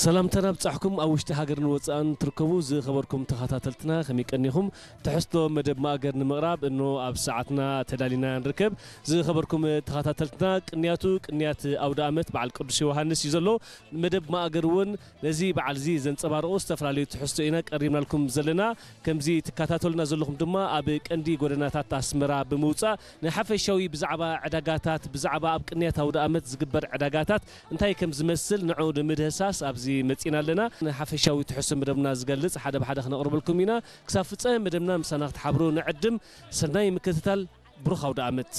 ሰላምታና ብጻሕኩም ኣብ ውሽጢ ሃገርን ወጻእን ትርከቡ ዝኸበርኩም ተኸታተልትና ከመይ ቀኒኹም? ትሕዝቶ መደብ ማእገር ንምቕራብ እኖ ኣብ ሰዓትና ተዳሊና ንርከብ። ዝኸበርኩም ተኸታተልትና ቅንያቱ ቅንያት ኣውደ ኣመት በዓል ቅዱስ ዮሃንስ እዩ ዘሎ። መደብ ማእገር እውን ነዚ በዓል እዚ ዘንጸባርቑ ዝተፈላለዩ ትሕዝቶ ኢና ቀሪብናልኩም ዘለና። ከምዚ ትከታተሉና ዘለኹም ድማ ኣብ ቀንዲ ጎደናታት ኣስመራ ብምውጻእ ንሓፈሻዊ ብዛዕባ ዕዳጋታት፣ ብዛዕባ ኣብ ቅንያት ኣውደ ኣመት ዝግበር ዕዳጋታት እንታይ ከም ዝመስል ንዑ ንምድህሳስ ኣብዚ መጺና ኣለና። ንሓፈሻዊ ትሕዝቶ መደብና ዝገልጽ ሓደ ብሓደ ክነቕርበልኩም ኢና። ክሳብ ፍጻሜ መደብና ምሳና ክትሓብሩ ንዕድም። ሰናይ ምክትታል፣ ብሩኽ ኣውደ ኣመት።